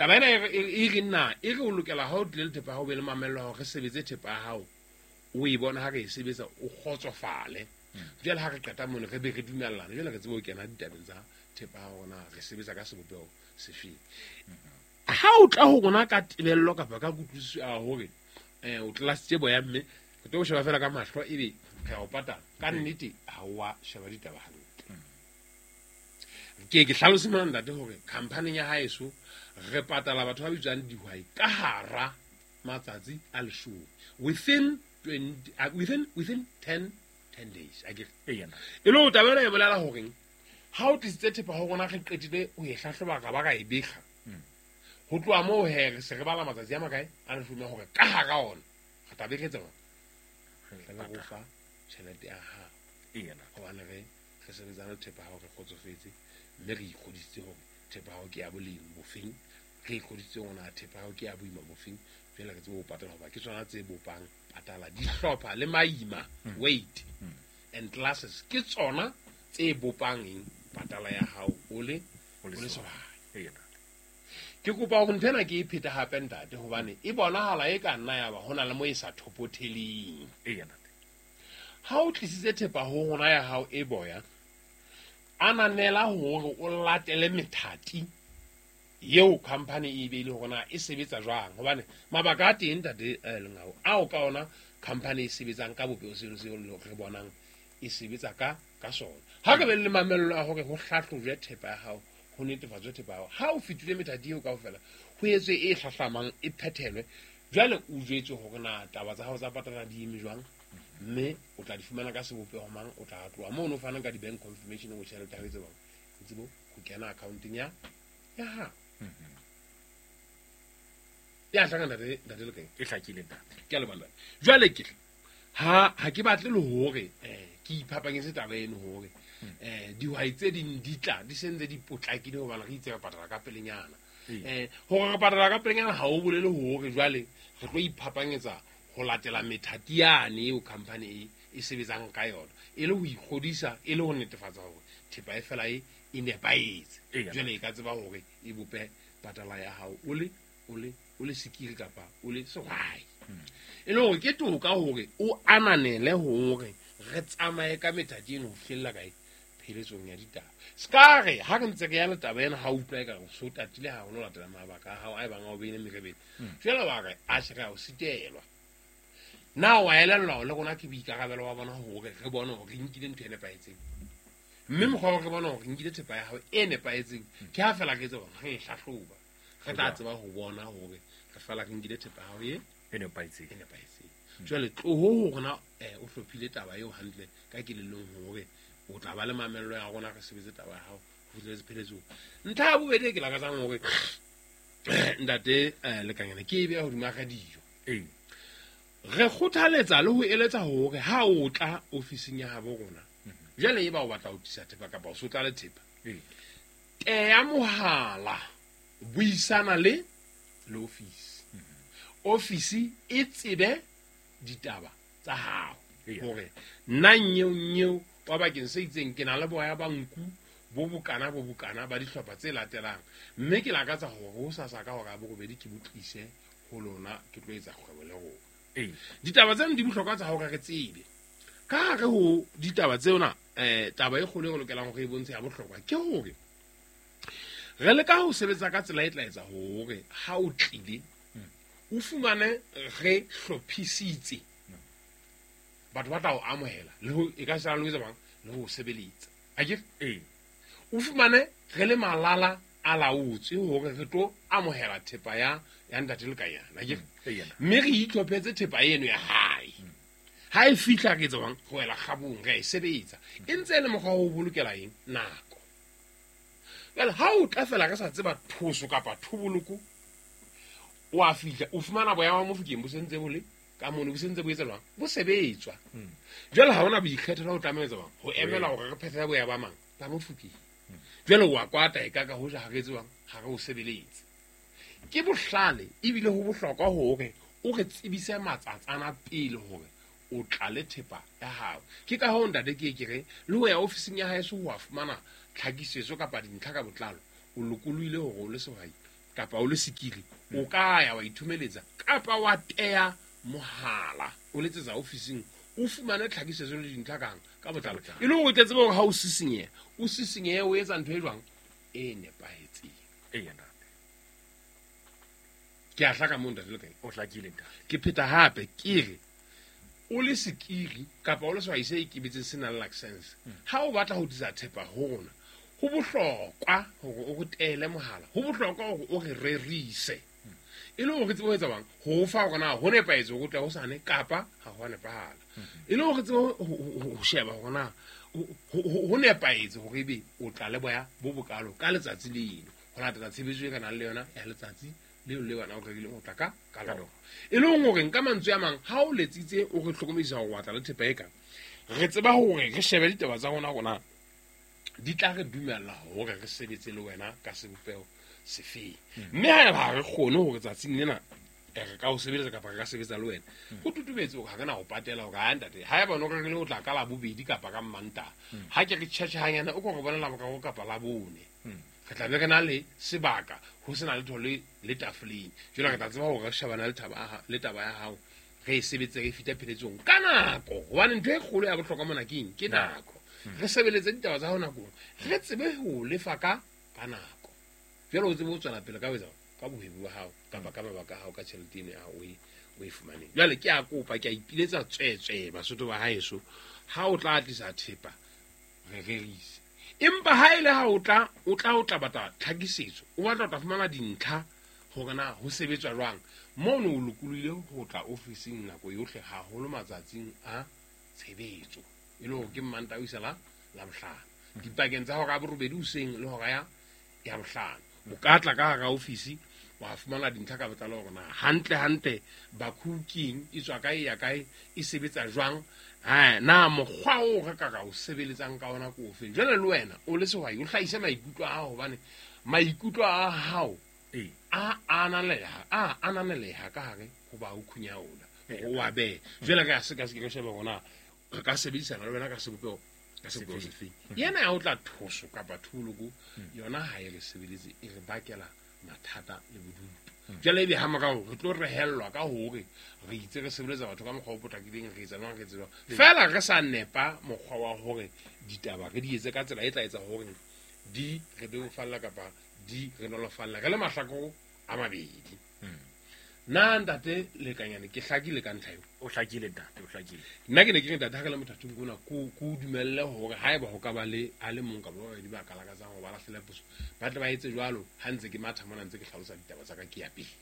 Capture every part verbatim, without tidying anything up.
Taba ena e re nna e re o lokela ha o tlile le thepa ya hao, o be le mamello ya hore re sebetse thepa ya hao, o e bona ha re e sebetsa o kgotsofale. Jwale ha re qeta mono re be re dumellana, jwale re tsebe ho kena ditabeng tsa thepa ya rona, re sebetsa ka sebopeho sefeng. Ha o tla ho rona ka tebello kapa ka kutlwisiso ya hore um o tlelasitse boya, mme re tlo sheba fela ka mahlo ebe re a o patala, ka nnete ha o wa sheba ditaba hantle. Ke ke hlalose mona ntate hore khamphaning ya haeso re patala batho ba bitswang dihwai ka hara matsatsi a leshome, within twenty, uh, within within ten ten days akere. Eya ntate. E le ho taba ena e bolela horeng ha o tlisitse thepa ho rona, re qetile ho e hlahloba ra ba ra e bekga, ho tloha moo he re se re bala matsatsi a makae a leshome hore ka hara ona re tla be re etsa jwang? Re tla be re o fa tjhelete ya hao. Eya ntate. Hobane re re sebetsana le thepa ya hao, re kgotsofetse, mme re ikgodisitse hore thepa ya hao ke ya boleng bofeng, re ikgodisitse hore na thepa ya hao ke ya boima bofeng, jwale re tsebe ho patala, hoba ke tsona tse bopang patala. Dihlopha le maima, weight and classes, ke tsona tse bopang eng patala ya hao o le O le o le sehwai. sehwai. Eya ntate. Ke kopa hore ntho ena ke e phete hape ntate, hobane e bonahala e ka nna ya ba ho na le mo e sa thopotheleng. Eya ntate. Ha o tlisitse thepa ho rona ya hao e boya, ananela hore o latele methati eo company e beile hore na e sebetsa jwang, hobane mabaka a teng ntate eh, Lengau, ao ka ona company e sebetsang ka bopeho seno seo re bonang e sebetsa ka ka sona. Ha re be le mamello ya hore ho hlahlojwe thepa ya hao, ho netefatswe thepa ya hao, ha o fetile methati eo kaofela, ho etswe e hlahlamang, e phethelwe, jwale o jwetswe hore na taba tsa hao tsa patala di eme jwang, mme o tla di fumana ka sebopeho mang. O tla tloha mono o fanang ka di-bank confirmation ho tjhelete ya hao e tsebang e tsebo ho kena accounteng ya ya hao. Ya hlaka ntate, ntate Lekeng? E hlakile ntate. Ke a leboha ntate. Jwale ke ha ha ke batle le hore eh ke iphapanyetse taba eno hore eh dihwai tse ding di tla di sentse di potlakile, hobane re itse re patala ka pelenyana. Ee. Eh hore re patala ka pelenyana ha o bolele hore jwale re tlo iphapanyetsa ho latela methati yane eo company e e sebetsang ka yona, e le ho ikgodisa, e le ho netefatsa hore thepa e fela e e nepahetse. Eya. Jwale e ka tseba hore e bope patala ya hao o le o le o le sekiri kapa o le sehwai. E le hore ke toka hore o ananele hore re tsamaye ka methati eno ho fihlella kae pheletsong ya ditaba. Se ka re ha re ntse re ya le taba ena, ha o utlwa ekare o so tatile haholo ho latela mabaka a hao a ebang a o beile merebele, jwale wa re atjhe re a o sitelwa. Na wa elellwa hore le rona ke boikarabelo ba bona hore re bone hore re nkile ntho e nepahetseng, mme mokgwa wa re bona hore re nkile thepa ya hao e nepahetseng ke ha fela re etsa hore re e hlahloba, re tla tseba ho bona hore re fela re nkile thepa ya hao e E nepahetseng. e nepahetseng. Jwale tloho ho rona eh, o hlophile taba eo hantle ka kelellong hore o tla ba le mamello ya rona, re sebetse taba ya hao ho fihletse pheletsong. Ntlha ya bobedi e ke lakatsang hore ntate eh, Lekanyana ke e beha hodima radio. Ee. Re kgothaletsa le ho eletsa hore ha o tla ofising ya habo rona, jwale eba o batla ho tlisa thepa kapa o so tla le thepa, Ee. teya mohala, buisana le le ofisi. Ofisi e tsebe ditaba tsa hao Eya. hore nna nyeo nyeo wa bakeng se itseng ke na le boya ba nku bo bokana bo bokana ba dihlopha tse latelang, mme ke lakatsa hore ho sasa ka hora ya borobedi ke bo tlise ho lona, ke tlo etsa kgwebo le rona. Ee. Ditaba tseno di bohlokwa tsa hore re tsebe ka hare ho ditaba tsena. um taba e kgolo e re lokelang hore e bontshe ya bohlokwa ke hore re leka ho sebetsa ka tsela e tla etsa hore ha o tlile o fumane re hlophisitse batho ba tla o amohela le ho e ka sala le ho etsa bang le ho o sebeletsa akere. Ee. O fumane re le malala a laotswe hore re tlo amohela thepa ya ya ntate Lekanyana akere. Eya ntate. Mme re itlhophetse thepa eno ya hae, ha e fihla re etsa jwang, re wela kgabong, re a e sebetsa, e ntse e le mokgwa wa ho bolokela eng nako. Jwale ha o tla fela re sa tseba thoso kapa thoboloko, o a fihla o fumana boya ba Mofokeng bo sentse bo le ka mono, bo sentse bo etsa jwang, bo sebetswa. Jwale ha hona boikgethelo, o tlameha etsa jwang ho emela hore re phethele boya ba mang ba Mofokeng. Jwale wa kwata e ka ka hoja ha re etse jwang, ha re o sebeletse. Ke bohlale ebile ho bohlokwa hore o re tsebise matsatsana pele hore o tla le thepa ya hao. Ke ka hoo ntate ke ke re le ho ya ofising ya haeso ho a fumana tlhakisetso kapa dintlha ka botlalo, o lokolohile hore o le sehwai kapa o le sekiri o ka ya wa ithomeletsa kapa wa teya mohala o letsetsa ofising o fumane tlhakisetso le dintlha kang ka botlalo e le hore o tle tsebe hore ha o sisinyeha o sisinyehe o etsa ntho e jwang e nepahetseng. Eya ntate. Ke a hlaka moo ntate Lekanyane. O hlakile ntate. Ke pheta hape ke re o le sekiri kapa o le sehwai se ikemetseng se nang le license, ha o batla ho tlisa thepa ho rona ho bohlokwa hore o re teele mohala, ho bohlokwa hore o re rerise e le hore re tsebe ho etsa bang ho fa hore na ho nepahetse hore o tle hosane kapa ha ho a nepahala, e le hore re tsebe ho sheba hore na ho nepahetse hore ebe o tla le boya bo bokalo ka letsatsi leno ho latela tshebetso e re nang le yona ya letsatsi leo le wena o rerileng ho tla ka ka lona. E leng hore nka mantswe a mang ha o letsitse o re hlokomedisa hore wa tla le thepa e ka re tseba hore re shebe ditaba tsa rona rona di tla re dumella hore re sebetse le wena ka sebopeho sefeng, mme haeba ha re kgone hore tsatsing lena re ka o sebeletsa kapa re ka sebetsa le wena ho tutubetse hore ha re na ho patela hore ha ntate haeba o rerile ho tla ka Labobedi kapa ka Mmantaha ha ke re tjhetjhe hanyane o ko re bona Laboraro kapa Labone re tla be re na le sebaka ho sena letho le le tafoleng. Jwale re tla tseba hore re shebana le taba le taba ya hao re e sebetse re fita pheletsong ka nako, hobane ntho e kgolo ya bohlokwa mona ke eng? Ke nako. Re sebeletse ditaba tsa hao nakong, re tsebe ho lefa ka ka nako. Jwale o tsebe ho tswela pele ka ho etsa ka bohwebi ba hao kapa ka mabaka a hao ka tjhelete eno ya hao o e o e fumaneng. Jwale ke a kopa ke a ipiletsa tswetswe Basotho ba haeso, ha o tla tlisa thepa re rerise, empa ha ele ha o tla o tla o tla batla tlhakisetso, o batla o tla fumana dintlha hore na ho sebetswa jwang mono o lokolohile ho tla ofising nako yohle haholo matsatsing a tshebetso e le hore ke Mmantaha ho isa la Labohlano dipakeng tsa hora ya borobedi hoseng le hora ya ya bohlano. O ka tla ka hara ofisi wa fumana dintlha ka botlalo hore na hantle hantle Bakhu keng, e tswa kae ya kae, e sebetsa jwang, ha na mokgwa o re ka ka o sebeletsang ka ona ke ofeng. Jwale le wena o le sehwai o hlahise maikutlo a hao, hobane maikutlo a hao a ananeleha a ananeleha ka hare ho Bakhu Nyaola o wa behe. Jwale ka se ka se ke shebe hore na re ka sebedisana le wena ka sebopeho ka sebopeho sefeng. Yena ya o tla thoso kapa tholoko yona ha e re sebeletse, e re bakela mathata le bodutu. Jwale ebe ha morao re tlo rehellwa ka hore re itse re sebeletsa batho ka mokgwa o potlakileng, re etsa jwang, re etsa jwang, fela re sa nepa mokgwa wa hore ditaba re di etse ka tsela e tla etsa hore di re bebofalla kapa di re nolofalla re le mahlakore a mabedi. Nna ntate Lekanyane ke hlakile ka ntlha eo. O hlakile ntate, o hlakile. Nna ke ne ke re ntate ha re le mothating ona ko ko dumelle hore haeba ho ka ba le a le mong kapa ba babedi ba ka lakatsang hore ba lahlele poso ba tle ba etse jwalo ha ntse ke matha mona ntse ke hlalosa ditaba tsa ka ke ya pele.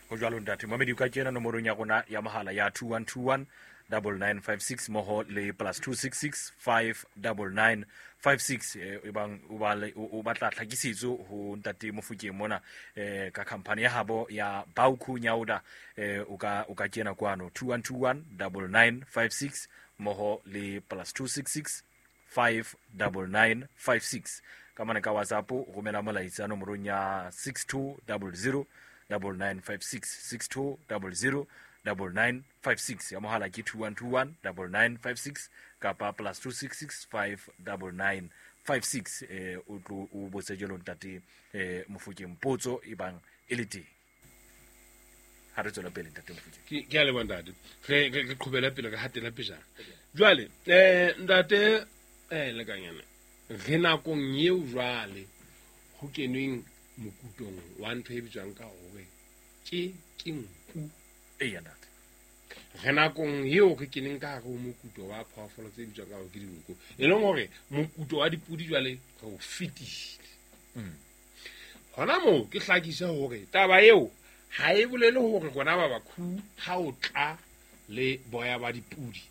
Ho jwalo ntate. Momedi o ka kena nomorong ya rona ya mohala ya two one two one double nine five six mmoho le plus two six six five double nine five six e bang o ba o batla tlhakisetso ho ntate Mofokeng mona eh ka company ya habo ya Bakhu Nyaola eh o ka o ka kena kwano two one two one double nine five six mmoho le plus two six six five double nine five six ka mane ka WhatsApp o romela molaetsa nomorong ya six two double zero double nine five six six two double zero double nine five six ya mohala ke two one two one double nine five six kapa plus two six six five double nine five six eh o tlo o botse jalo ntate eh Mofokeng potso e bang e le teng. Ha re tswela pele ntate Mofokeng. Ke ke a leboha ntate. Re re qhobela pele re hatela pejana. Jwale eh ntate eh Lekanyane re nakong eo jwale ho kenweng mokutong wa ntho e bitswang ka hore ke ke nku. Eya ntate. Re nakong eo re keneng ka hare ho mokuto wa phoofolo tse bitswang ka hore ke dinku, e leng hore mokuto wa dipudi jwale re o fetile. Hona moo ke hlakise hore taba eo ha e bolele hore rona ba Bakhu ha o tla le boya ba dipudi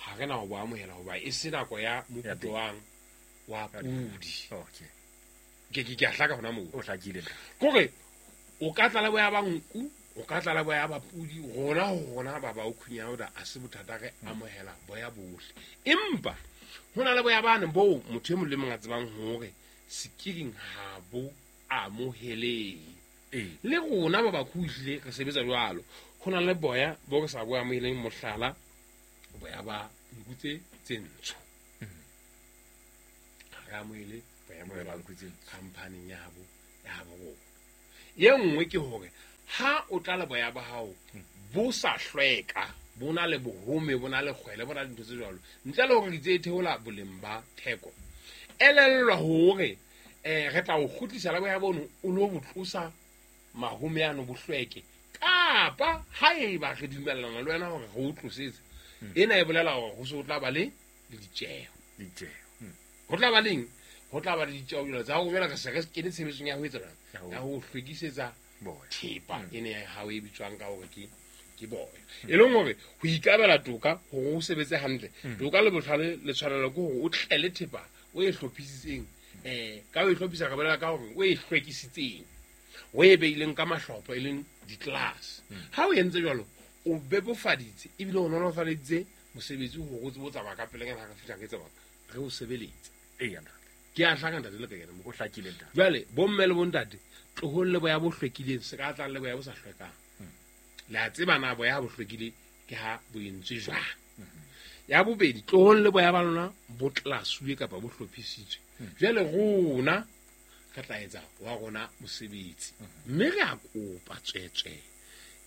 ha re na ho bo amohela hoba e se nako ya mokuto wang wa pudi. Okay. Ke ke ke a hlaka hona moo. O hlakile. Kore o ka tla le boya ba nku, o ka tla le boya ba pudi, rona ho rona ba Bakhu Nyaola a se bothata, re amohela boya bohle. Empa ho na le boya bane boo motho e mong le mong a tsebang hore sekiring ha bo amohelehe. Ee. Le rona ba Bakhu ehlile re sebetsa jwalo. Ho na le boya bo re sa bo amoheleng, mohlala boya ba nku tse tse ntsho. Ha re amohele boya Boya ba ba nku tse ntsho khamphaning ya habo ya habo rona. Ye nngwe ke hore ha o tla le boya ba hao bo sa hlweka, bo na le bohome, bo na le kgwele, bo na le dintho tse jwalo, ntle le hore di tse theola boleng ba theko, elellwa hore eh re tla o kgutlisa la boya bono o lo bo tlosa mahome ano bo hlweke, kapa haeba re dumellana le wena hore re o tlosetse, ena e bolela hore ho se o tla ba le le ditjeho. Ditjeho. Ho tla ba leng? Ho tla ba le ditjeho jwalo tsa hore jwale re se re kene tshebetsong ya ho etsa jwang? Ya ho hlwekisetsa thepa ene ya hao e bitswang ka hore ke ke boya. E leng hore ho ikabela toka hore o sebetse hantle, toka le botlhale le tshwanelo ke hore o tlele thepa o e hlophisitseng, eh ka o e hlophisa re bolela ka hore o e hlwekisitseng, o e beileng ka mahlopho e leng di-class. Ha o entse jwalo o bebofaditse ebile o nolofaditse mosebetsi hore o tsebe ho tsamaya ka pelenyana ha re fihla re tseba re o sebeletse. Eya ntate. Ke a hlaka ntate le ka kena mo. O hlakile ntate. Jwale bomme le bontate tlohong le boya bo hlwekileng, se ka tlang le boya bo sa hlwekang. Le a tseba na boya bo hlwekile ke ha bo entswe jwang. Ya bobedi, tlohong le boya ba lona bo tlasuwe kapa bo hlophisitswe. Jwale rona re tla etsa wa rona mosebetsi, mme re a kopa tswetswe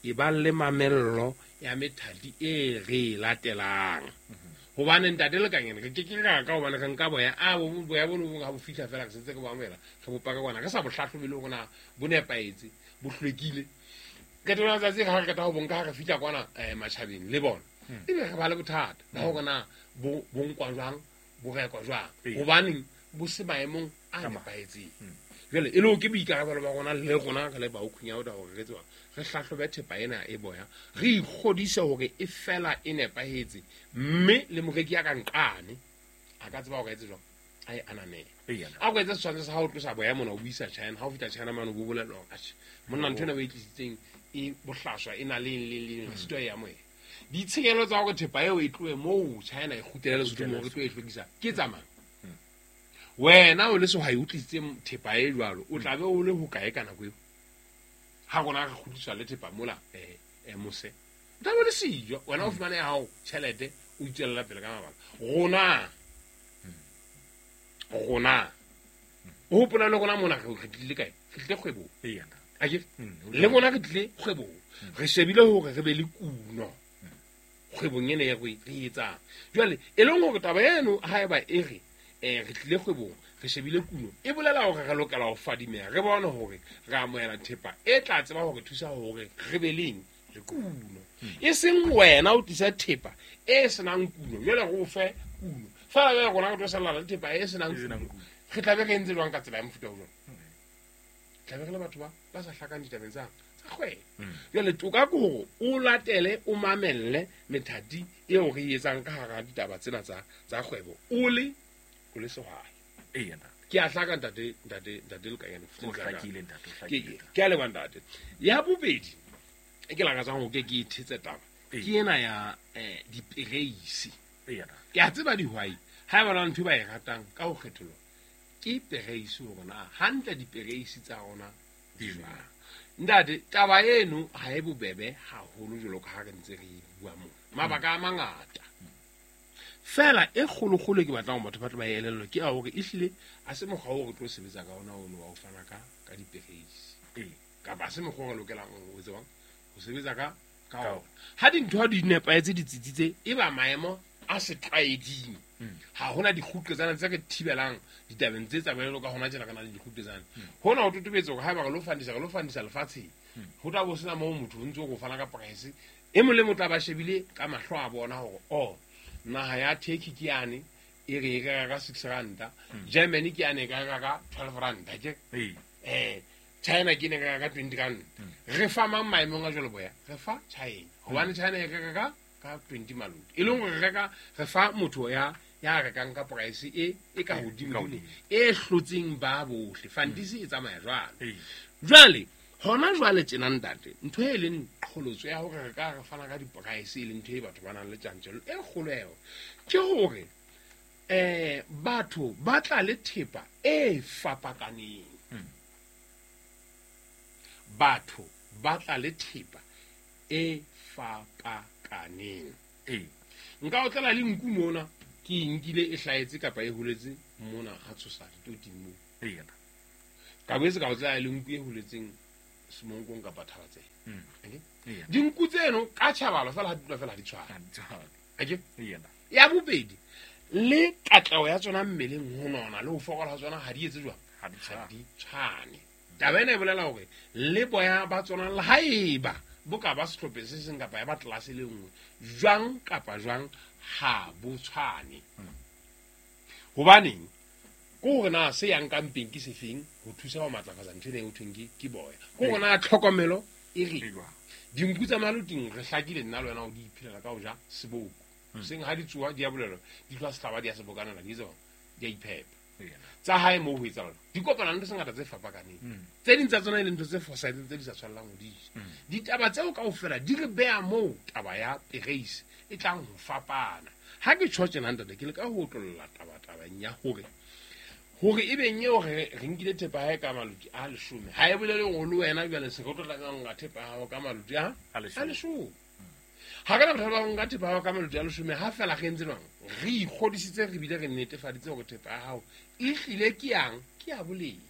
e ba le mamello ya methati e re latelang. Hobane ntate le kangene re ke ke ra ka hobane re nka boya a bo boya bo no ha bo fihla fela re sentse re bo amohela re bo paka kwana re sa bo hlahlobe le hore na bo nepahetse bo hlwekile. Qetellong ya tsatsi ha re qeta ho bonka ha re fihla kwana eh matjhabeng le bona ebe re ba le bothata ba hore na bo bo nkwa jwang bo rekwa jwang, hobaneng bo se maemong a nepahetseng. Jwale e le ho ke boikarabelo ba rona le rona re le baokhunyauda hore re tseba re hlahlobe thepa ena e boya, re ikgodise hore e fela e nepahetse, mme le moreki ya ka nqane a ka tseba hore etse jwang a e ananele. A ko etse setshwantsho sa ha o tlosa boya mona o bo isa China, ha o fihla China mane o bo bolella hore atjhe monna ntho ena o e tlisitseng e bohlaswa e na le eng le eng, re sitwa e amohela. Ditshenyehelo tsa hore thepa eo e tlohe moo China e kgutlele Lesotho moo re tlo e hlwekisa ke tsa mang? Wena o le sehwai o tlisitse thepa e jwalo, o tla be o le hokae ka nako eo? Ha rona re kgutliswa le thepa mola eh eh mose, o tla be o le siyo, wena o fumane ya hao tjhelete o itswella pele ka mabaka. Rona rona o hopola le rona mona re tlile kae? Re tlile kgwebong. Akere le rona re tlile kgwebong, re shebile hore re be le kuno kgwebong ena ya re e etsang. Jwale e leng hore taba eno haeba e re eh re tlile kgwebong re shebile kuno, e bolela hore re lokela ho fadimeha, re bone hore re amohela thepa e tla tseba hore thusa hore re be leng le kuno. E seng wena o tlisa thepa e senang kuno, jwale re o fe kuno fela jwale rona re tlo salla le thepa e senang kuno, re tla be re entse jwang ka tsela ya mofuta o jwalo? Tla be re le batho ba ba sa hlakang ditabeng tsa tsa kgwebo. Jwale toka ke hore o latele o mamelle methati eo re e etsang ka hara ditaba tsena tsa tsa kgwebo o le o le sehwai. Eya ntate. Ke a hlaka ntate ntate ntate le kanyane. O hlakile ntate, o hlakile. Ke a leboha ntate. Ya bobedi e ke lakatsang hore ke ke ithetse taba ke ena ya eh dipereisi. Eya ntate. Ke a tseba dihwai ha ba na ntho ba e ratang ka ho kgetholwa ke pereisi hore na hantle dipereisi tsa rona di jwang. Ntate taba eno ha e bobebe haholo jwalo ka ha re ntse re bua mona. Mabaka a mangata. Fela e kgolokgolo ke batlang batho ba tle ba elellwe ke a hore ehlile a se mokgwa oo re tlo sebetsa ka ona ono wa ho fana ka ka dipereisi. Ee. Kapa a se mokgwa o re lokelang ho tsebang ho sebetsa ka ka ona. Ha dintho di nepahetse di tsitsitse e ba maemo a setlwaeding. Ha hona dikgutlo tsana tse re thibelang ditabeng tse tsamayang ka hona tjena ka na le dikgutlo tsana. Hona ho totobetse hore haeba re lo fandisa re lo fandisa lefatsheng, ho tla bo sena moo motho o ntse o fana ka price e mong le mong tla ba shebile ka mahlo a bona hore oh naha ya Turkey ke yane e re e reka ka six ranta, Germany ke yane e ka reka ka twelve ranta ke eh China ke ne reka ka twenty ranta. Re fa mang maemong a jwalo boya? Re fa China hobane China e reka ka ka twenty maloti, e leng hore re reka re fa motho ya ya rekang ka price e e ka hodimo e hlotseng ba bohle. Fantisi e tsamaya jwalo. Jwale hona jwale tjena ntate ntho e leng qholotso ya hore re ka re fana ka di-price e leng ntho e batho ba nang le tjantjello e kgolo eo ke hore eh batho ba tla le thepa e fapakaneng. Batho ba tla le thepa e fapakaneng. Ee. Nka o tlela le nku mona ke e nkile e hlahetse kapa e holetse mona ha tshosa ditoting moo. Ee. Ka boetse ka o tlela le nku e holetseng Semonkong kapa Thabatsela. Mm. Akere? Eya. Dinku tseno ka tjhabalo fela ha di dula fela ha di tshwane. Ha di tshwane. Akere? Eya ntate. Ya bobedi, le katleho ya tsona mmeleng ho nona le ho fokola ha tsona ha di etse jwang? Ha di Ha tshwane. di tshwane. Taba ena e bolela hore le boya ba tsona le haeba bo ka ba sehlopheng se seng kapa ya ba tlelase le nngwe, jwang kapa jwang ha bo tshwane. Hobaneng? Ke hore na se yang ka mpeng ke sefeng ho thusa ho matlafatsa ntho ena e ho thweng ke, ke boya. Ke hore na tlhokomelo e reng? E jwang? Dinku tsa maloting re hlakile nna le wena ho di iphelela ka ho ja seboko. Seng ha di tsoha di a bolelwa, di tloha sehlaba di a sebokanela, di etsa jwang? Di a iphepa. Eya ntate. Tsa hae moo ho etsahala. Di kopana le ntho tse ngata tse fapakaneng. Mm. Tse ding tsa tsona e leng ntho tse fosahetseng tse di sa tshwanelang ho di ja. Ditaba tseo kaofela di re beha moo taba ya pereisi e tlang ho fapana. Ha ke tjho tjena ntate, ke leka ho otlolla taba tabeng ya hore hore e beng eo re, re nkile thepa ya hae ka maloti a leshome, ha e bolele hore le wena jwale se re tlo tlameha ho nka thepa ya hao ka maloti a A leshome. a leshome. Ha re na bothata ba ho nka thepa ya hao ka maloti a leshome, ha feela re entse jwang? Re ikgodisitse re bile re netefaditse hore thepa ya hao e hlile ke yang, ke ya boleng.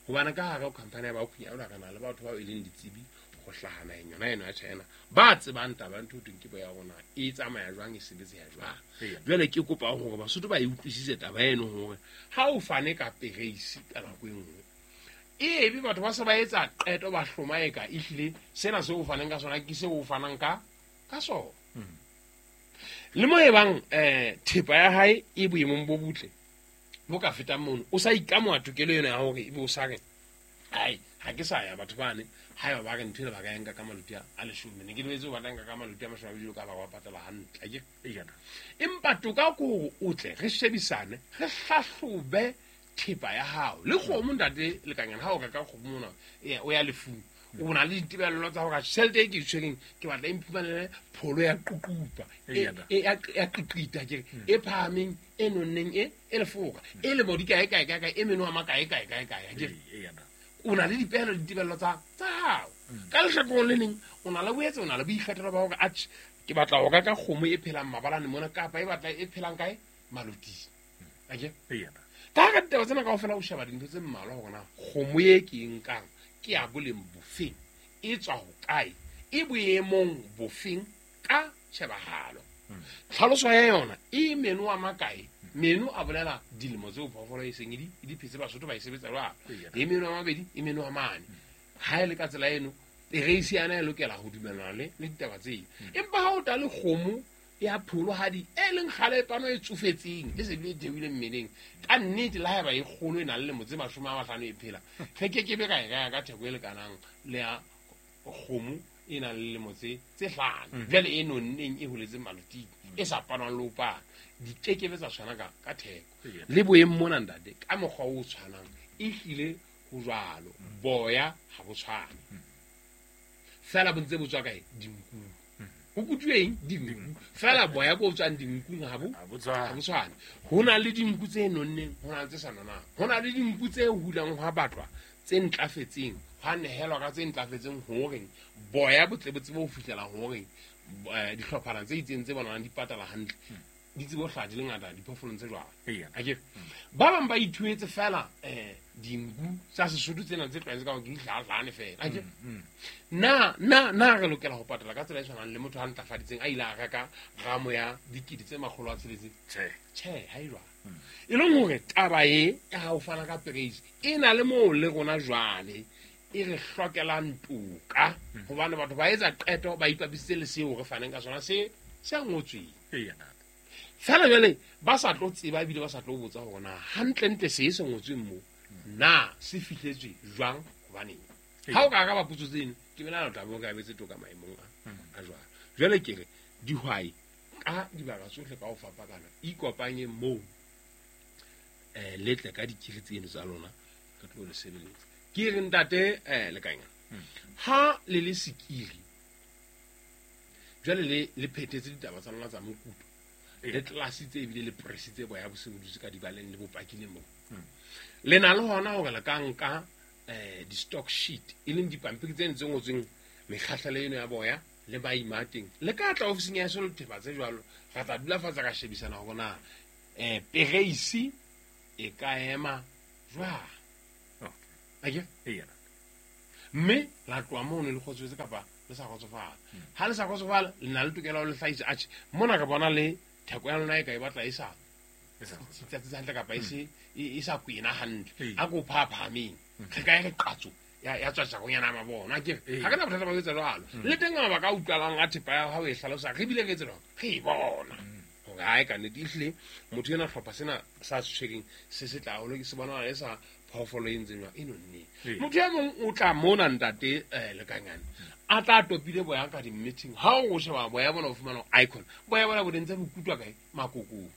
Hobane ka hare ho company ya ba Khunyana re na le batho bao e leng ditsebi ho hlaha naheng yona eno ya China, ba tsebang taba ya ntho e thweng ke boya rona e tsamaya jwang, e sebetseha jwang. Eya. Jwale ke kopa hore Basotho ba e utlwisise taba eno hore ha o fane ka pereisi ka nako e nngwe, ebe batho ba se ba etsa qeto ba hloma eka ehlile sena seo o faneng ka sona ke seo o fanang ka, ka sona. Le mo ebang, eh, thepa ya hae e boemong bo botle bo ka fetang mono, o sa ikamoha tokelo ena ya hore ebe o sa re, ai, ha ke sa ya batho bane, haeba ba re ntho ena ba ka e nka ka maloti a, a leshome, ne ke lebetse ho batla nka ka maloti a mashome a mabedi ka ba wa patala hantle, akere? Eya ntate. Empa toka ke hore o tle re shebisane, re hlahlobe thepa ya hao. Le kgomo ntate Lekanyana, ha o reka kgomo mona, e, o ya lefung, o na le ditebello tsa hore tjhelete e ke e tshwereng ke batla e mphumanele pholo ya ququpa, e, Eya ntate. e, ya, ya qiqita, ke re, e phahameng, e nonneng, e, e lefoka, e lemo di kae, kae, kae, kae, e meno a makae, kae, kae, kae, akere? Eya ntate. O na le dipehelo le ditebello tsa, tsa hao. Ka lehlakoreng le leng, o na le boetse, o na le boikgethelo ba hore, atjhe, ke batla ho reka kgomo e phelang mabalane mona, kapa e batla e phelang kae? Maloting. Akere? Eya ntate. Ka hara ditaba tsena kaofela o sheba dintho tse mmalwa hore na kgomo e ke e nkang ke ya boleng bofeng, e tswa hokae, e boemong bofeng ka tjhebahalo. Tlhaloso ya yona e meno a makae? Meno a bolela dilemo tseo phoofolo e seng e di, e di phetse, Basotho ba e sebetsa jwalo. Eya. E meno a mabedi, e meno a mane. Ha e le ka tsela eno, pereisi yana e lokela ho dumellana le, le ditaba tseo. Empa ha o ta le kgomo ya pholohadi e leng kgale pano e tsofetseng, e se bile e theohile mmeleng, ka nnete le haeba e kgolo e nang le lemo tse mashome a mahlano e phela, re kekebe ra e reka ka theko e lekanang le ya kgomo e nang le lemo tse, tse hlano. Jwale e nonneng e holetseng maloting, e sa panwang le ho pana, di kekebe tsa tshwana ka, ka theko. Eya. Le boemong mona ntate, ka mokgwa o tshwanang, ehlile ho jwalo, boya ha bo tshwane. Feela bo ntse bo tswa kae? Dinkung. Ho kutuwe eng? Dinku. Feela boya bo tswang dinkung ha bo, Ha bo tshwane. ha bo tshwane. Ho na le dinku tse nonneng, ho na le tse sa nonang. Ho na le dinku tse hulang hwa batlwa, tse ntlafetseng, hwa nehelwa ka tse ntlafetseng hore boya bo tle bo tsebe ho fihlela hore, eh, dihlophana tse itseng tse bonahalang di patala hantle, di tsebe ho hlaha di le ngata diphoofolong tse jwalo. Eya. Akere? Ba bang ba ithuetse feela, eh, dinku tsa Sesotho tsena tse tlwaetse ka hore ke dihlahahlahane feela. Akere? Na, na, na re lokela ho patala ka tsela e tshwanang le motho a ntlafaditseng a ile a reka ramo ya dikete tse makgolo a tsheletseng? Tjhe. Tjhe, ha e jwalo. E leng hore taba e ya ho fana ka pereisi e na le moo le rona jwale e re hlokelang toka, hobane batho ba etsa qeto ba ipapisitse le seo re faneng ka sona se, se ngotsweng. Eya ntate. Feela jwale ba sa tlo tseba ebile ba sa tlo botsa hore na hantlentle se se ngotsweng moo na se fihletswe jwang, hobaneng. Ha o ka araba potso tseno, ke belaela o tla be o karabetse toka maemong a, a jwalo. Jwale ke re dihwai ka dibaka tsohle ka ho fapakana, ikopanye moo, eh, le tle ka dikiri tseno tsa lona, re tlo le sebeletsa. Ke re ntate, eh, Lekanyana, ha le le sekiri, jwale le, le phethetse ditaba tsa lona tsa mokuto, le tlelasitse ebile le presitse boya bo se bo dutse ka dibaleng le bopakile moo. Le na le hona hore le ka nka, eh, di-stock sheet, e leng dipampiri tseno tse ngotsweng mekgahlelo eno ya boya le maima a teng. Le ka tla ofising ya heso le thepa tse jwalo, ra tla dula fatshe ra shebisana hore na, eh, pereisi e ka ema jwang. Okay. Akere? Eya. Mme la tloha mono le kgotsofetse kapa le sa kgotsofala. Ha le sa kgotsofala le na le tokelo ya ho le hlahisa atjhe mona re bona le theko ya lona e ka e batla e sa tsatsi hantle kapa e se e sa kwena hantle. A ko phaphameng. Re ka e re qatso ya ya tswa tjakonyana mabona ke ha ke na bothata ba ho etsa jwalo. Le teng mabaka a utlwalang a thepa ya hao e hlalosa re bile re etse jwang re e bona. Hore ha e ka nnete ehlile motho ena hlopha sena sa tshwereng se se tla haholo ke se bona e sa phoofolo e ntseng jwang e nonneng. Motho e mong o tla mona ntate Lekanyane a tla topile boya ka di-meeting ha o sheba boya bona o fumana icon boya bona bo ntse bo kutwa kae makokong.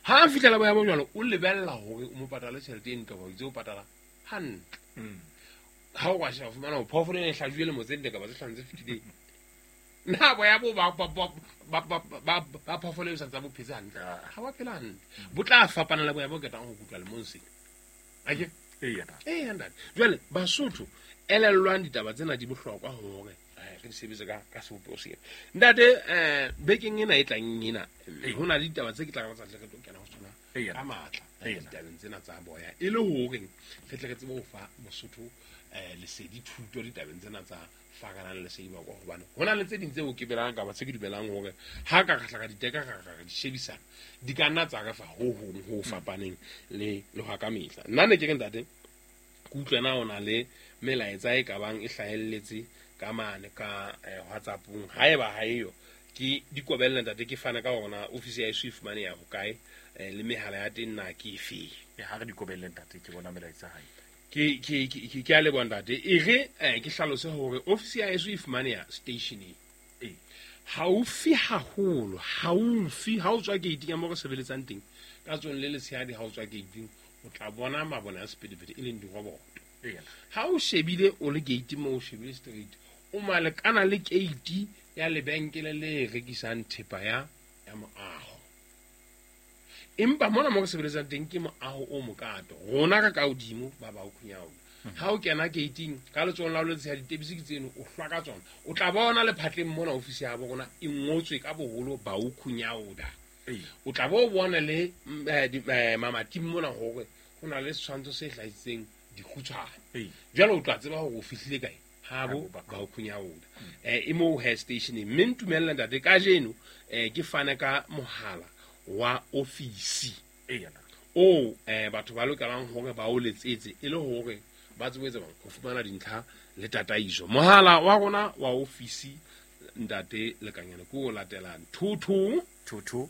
Ha a fihlela boya bo jwalo o lebella hore o mo patale tjhelete e ntle hobane o itse o patala hantle. Ha o ka sheba fumana hore phoofolo ena e hlajuwe lemo tse nne kapa tse hlano tse fetileng. Na boya bo ba ba ba ba ba phoofolo e sa ntse bo phetse hantle. Ha ba phela hantle. Bo tla fapana le boya bo ketang ho kutwa lemong sena. Ake? Eya. Eya ntate. Jwale Basotho elellwang ditaba tsena di bohlokwa hore re di sebetse ka ka sebopeho sena. Ntate eh bekeng ena e tlang ena ho na le ditaba tse ke tla ka tsa re tlo kena ho tsona ka matla ditabeng tsena tsa boya e le hore re tle re tsebe ho fa Mosotho eh lesedi thuto ditabeng tsena tsa fakanang lesedi ba kwa hobane ho na le tse ding tseo ke belang kapa tse ke dumelang hore ha ka ka ka diteka ka ka di shebisana di ka nna tsa re fa ho hong ho fapaneng le le ho ka mehla. Nna ne ke re ntate ke utlwe na ona le melaetsa e ka bang e hlahelletse ka mane ka WhatsApp-ong haeba ha eyo ke dikobelle ntate ke fana ka hona office ya e fumane ya hokae le mehala ya teng na ke efe. Ha re dikobelle ntate ke bona melaetsa hae. Ke ke ke ke a leboha ntate e re ke hlalose hore office ya e fumane ya stationeng e haufi haholo haufi ha o tswa gate ya mo re sebeletsang teng ka tsong le letshehadi ha o tswa gate o tla bona mabone a sephethephethe e leng diroboto. Ha o shebile o le gate mo o shebile straight o malekana le gate ya lebenkele le rekisang thepa ya ya moaho. Empa mona mo re sebeletsang teng ke moaho o mokato rona ka ka hodimo ba ba o khunyaola. Ha o kena gating ka letsohong la ho letshehadi ditebisi ke tseno o hlwa ka tsona o tla bona lephatleng mona office ya bo rona e ngotswe ka boholo ba o khunyaola. O tla bo bona le mamating mona hore ho na le setshwantsho se hlahisitseng dikgutshwane. Jwale o tla tseba hore o fihlile kae ha bo ba o khunyaola. Eh e mo hair station mme ntumella ntate kajeno eh ke fane ka mohala wa ofisi o eh batho ba lokelang hore ba o letsetse e le hore ba tsebe tseba ho fumana dintlha le tataiso. Mohala wa rona wa ofisi ntate Lekanyane ke o latelang two two two two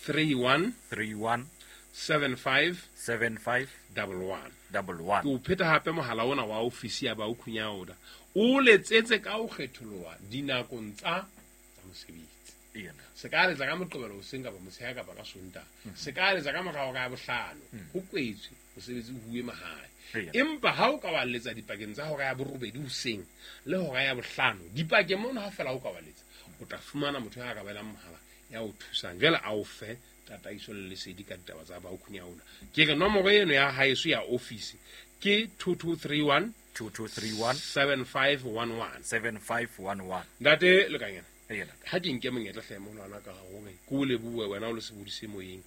three one three one seven five seven five double one double one. Ke o pheta hape mohala ona wa ofisi ya ba o khunyaola o letsetse ka ho kgetholoha dinakong tsa tsa mosebetsi. Se ka letsa ka Moqebelo hoseng kapa motshehare kapa ka Sontaha. Se ka letsa ka morao ka bohlano ho kwetswe mosebetsi o huwe mahae. Empa ha o ka wa letsa dipakeng tsa hora ya borobedi hoseng le hora ya bohlano dipakeng mono ha fela o ka wa letsa o tla fumana motho ya ka belang mohala ya o thusang jwale a o fe tataiso le lesedi ka ditaba tsa ba o khunyaola. Ke re nomoro eno ya haeso ya office ke two two three one two two three one seven five one one seven five one one. Ntate Lekanyane ha ke nke monyetla hle molwana ka hore ke o lebohe wena o le sebodise moyeng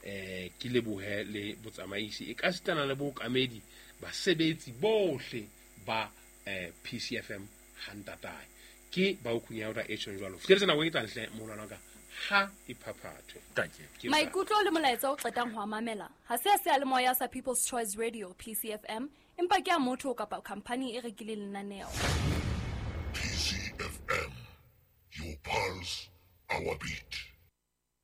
eh ke lebohe le botsamaisi e ka sitana le bookamedi basebetsi bohle ba eh P C F M hantatae ke ba o khunyaola e tjhong jwalo. Fihletse nako e tlang hle molwana ka ha iphaphathwe. Maikutlo le molaetsa o qetang ho mamela ha se a seyalemoya sa People's Choice Radio P C F M empa ke a motho kapa company e rekileng lenaneo. P C F M, your pulse, our beat.